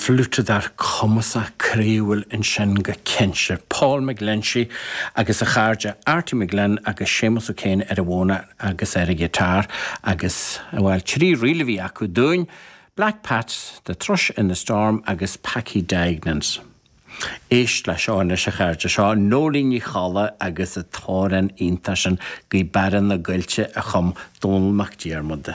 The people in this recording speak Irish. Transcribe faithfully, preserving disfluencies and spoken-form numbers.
Fliúiteadóir cumasach croíúil ansin go cinnte. Paul McGlinchey agus a chairde Artie McGlynn agus Séamus O'Kane ar an bhfóna agus ar an ghiotár agus bhuel trí ríl a bhí acu dúinn, Black Pats, The Thrush in the Storm agus Packy Deignans. Éist le seo anois a chairde seo Nóirín Ní Cholla agus an t-amhrán iontach sin Gaoth Beara na gCoillte a chum Dónall Mac Diarmada.